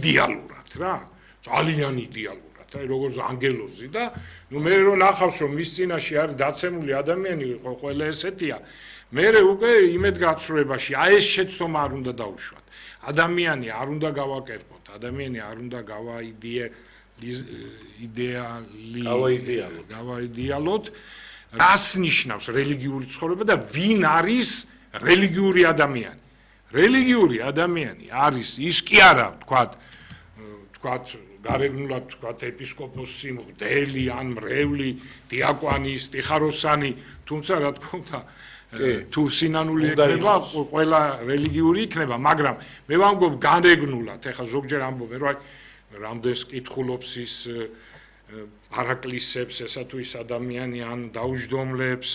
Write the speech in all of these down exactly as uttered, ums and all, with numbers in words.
იდეალურად რა, ძალიან იდეალურად, აი როგორც ანგელოზი და ნუ მე რო ნახავს რომ მის წინაშე არის დაცემული ადამიანი, ყველა ესეთია, მე უკვე იმედგაცრუებაში აი ეს შეცდომა არ უნდა დაუშვათ. ადამიანი არ უნდა გავაკერპოთ, ადამიანი არ უნდა გავაიდეა იდეალი გავაიდეალოთ. გავაიდეალოთ. რას ნიშნავს რელიგიური ცხოვრება და ვინ არის რელიგიური ადამიანი? რელიგიური ადამიანი არის ის კი არა, თქვათ, თქვათ, გარეგნულად თქვათ ეპისკოპოსი, მღვდელი ან მრევლი, დიაკვანი, სტიხაროსანი, თუმცა რა თქმა უნდა თუ სინანული იქნება, ყველა რელიგიური იქნება, მაგრამ მე ვამბობ განეგნულად, ეხლა ზოგჯერ ამბობენ, რომ რამდენს კითხულობს ის პარაკლისებს, ესა თუ ის ადამიანი ან დაუჯდომლებს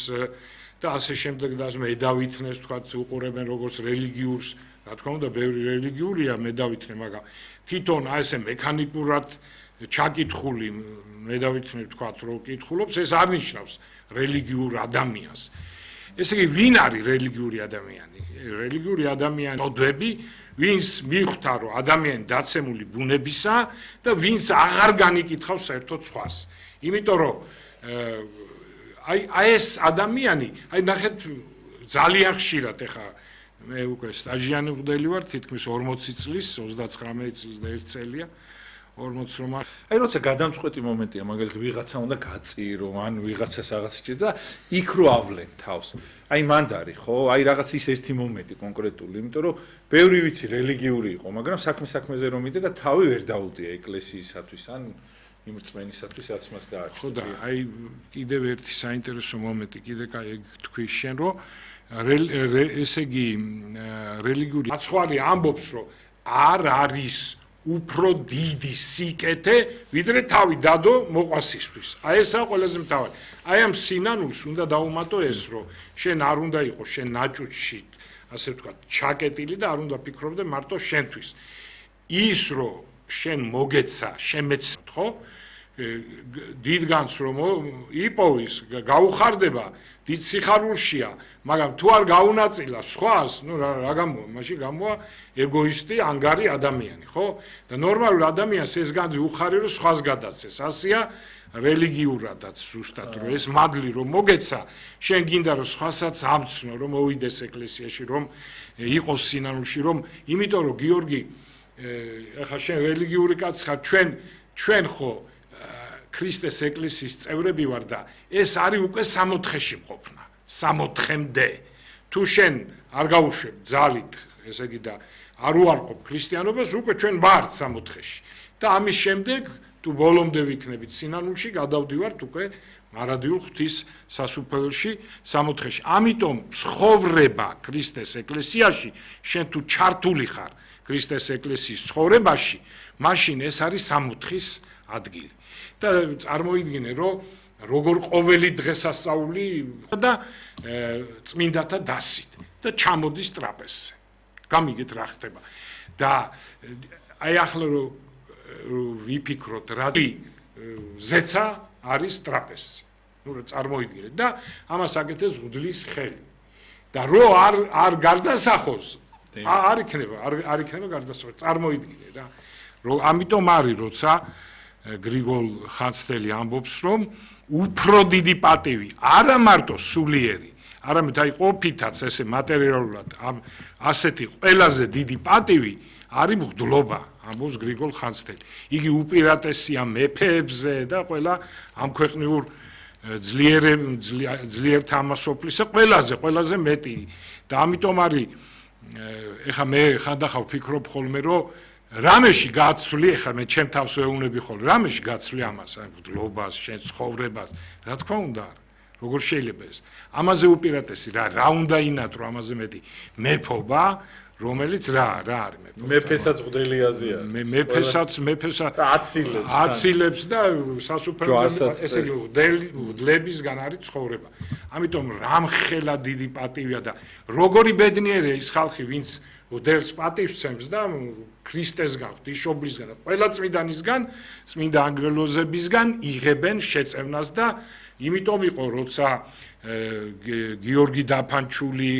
და ასე შემდეგ და მე დავითნეს თქვათ უყურებენ როგორც რელიგიურს, რა თქმა უნდა, ბევრი რელიგიურია, მე დავითნე, მაგრამ თვითონ აი ესე მექანიკურად ჩაკითხული მე დავითნე თქვათ რომ კითხულობს, ეს არ ნიშნავს რელიგიურ ადამიანს. ესე იგი, ვინ არის რელიგიური ადამიანი? რელიგიური ადამიანი წოდები, ვინც მიხვდა რომ ადამიანი დაცემული ბუნებისა და ვინც აღარ განიკითხავს საერთოდ სხვას. იმიტომ რომ აი აი ეს ადამიანი, აი ნახეთ ძალიან ხშირად ეხა მე უკვე სტაჟიანი მღვდელი ვარ, თითქმის ორმოცი წლის, ოცდაცხრამეტი წლის და ერთ წელია. ორმოცი რომ აი როცა გადამწყვეტი მომენტია, მაგალითად ვიღაცა უნდა გაწირო, ან ვიღაცას რაღაც ჭირდა და იქ რო ავლენ თავს. აი მანდარი ხო? აი რაღაც ის ერთი მომენტი კონკრეტული, იმიტომ რომ ბევრი ვიცი რელიგიური იყო, მაგრამ საქმე საქმეზე რომ იდე და თავი ვერ დაუდია ეკლესიისათვის, ან იმ რწმენისათვის, რაც მას გააჩნია. ხო და აი კიდევ ერთი საინტერესო მომენტი, კიდე კაი ეგ თქვი შენ რომ ესე იგი რელიგიური მაცხვარი ამბობს რომ არ არის უფრო დიდი სიკეთე, ვიდრე თავი დადო მოყვასისთვის. აი ესაა ყველაზე მთავარი. აი ამ სინანულს უნდა დაუმატო ეს, რომ შენ არ უნდა იყო შენ ნაჭუჭში, ასე ვთქვათ, ჩაკეტილი და არ უნდა ფიქრობდე მარტო შენთვის. ის რომ შენ მოგეცა, შემეცნოთ, ხო? დიდგანს რომ იპოვის, გაუხარდება, დიდ სიხარულშია, მაგრამ თუ არ გაუნაწილა სხვას, ну რა გამოვა, მაშინ გამოვა ეგოისტი, ანგარი ადამიანი, ხო? და ნორმალურ ადამიანს ეს განძი უხარი რომ სხვას გადაცეს. ასეა რელიგიურადაც ზუსტად რომ ეს მადლი რომ მოგეცა, შენ გინდა რომ სხვასაც ამცნო, რომ მოვიდეს ეკლესიაში, რომ იყოს სინანულში, რომ იმიტომ რომ გიორგი ეხა შენ რელიგიური კაცი ხარ, ჩვენ ჩვენ ხო ქრისტეს ეკლესიის წევრები ვარ და ეს არის უკვე სამოთხეში ყოფნა, სამოთხემდე. თუ შენ არ გაუშვებ ძალით, ესე იგი და არ უარყოფ ქრისტიანობას, უკვე ჩვენ ვართ სამოთხეში. და ამის შემდეგ თუ ბოლომდე ვიქნებით სინანულში, გადავდივართ უკვე მარადიულ ღვთის სასუფეველში, სამოთხეში. ამიტომ ცხოვრება ქრისტეს ეკლესიაში, შენ თუ ჩართული ხარ ქრისტეს ეკლესიის ცხოვრებაში, მაშინ ეს არის სამოთხის ადგილი. და წარმოიდგინე, რომ როგორ ყოველი დღესასწაული და წმინდათა დასით და ჩამოდის ტრაპეზზე. გამიგეთ რა ხდება. და აი ახლა რომ ვიფიქროთ, რა ზეცა არის ტრაპეზზე. ნუ წარმოიდგინეთ და ამას აკეთებს მღვდლის ხელი. და რო არ არ გარდასახოს, არ იქნება, არ იქნება გარდასახოს. წარმოიდგინე რა. რომ ამიტომ არის, როცა გრიგოლ ხანძთელი ამბობს, რომ უფრო დიდი პატივი, არა მარტო სულიერი, არამედ აი ყოფითაც ესე მატერიალურად ამ ასეთი ყველაზე დიდი პატივი არის მღვდლობა, ამბობს გრიგოლ ხანძთელი. იგი უპირატესია მეფეებზე და ყველა ამ ქვეყნიურ ძლიერ ძლიერთა ამასოფლისა ყველაზე, ყველაზე მეტი. და ამიტომ არის ეხა მე ხანდახან ვფიქრობ ხოლმე, რომ რამეში გაცვლი, ეხლა მე ჩემ თავს ვეუბნები ხოლმე, რამეში გაცვლი ამას, აი მღვდლობას, შენ ცხოვრებას, რა თქმა უნდა, როგორ შეიძლება ეს? ამაზე უპირატესი რა, რა უნდა ინატრო ამაზე მეტი მეფობა, რომელიც რა, რა არის მეფობა? მეფესაც მღვდელიაზეა. მე მეფესაც, მეფესაც აცილებს. აცილებს და სასუფეველზე ესე იგი მღვდლებისგან არის ცხოვრება. ამიტომ რამხელა დიდი პატივია და როგორი ბედნიერია ის ხალხი, ვინც მღვდელს პატივს სცემს და ქრისტესგან, ღვთისმშობლისგან და ყველა წმინდანისგან, წმინდა ანგელოზებისგან იღებენ შეწევნას და იმიტომ იყო, როცა გიორგი დაფანჩული,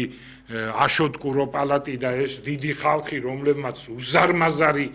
აშოტ კურო პალატი და ეს დიდი ხალხი, რომლებმაც უზარმაზარი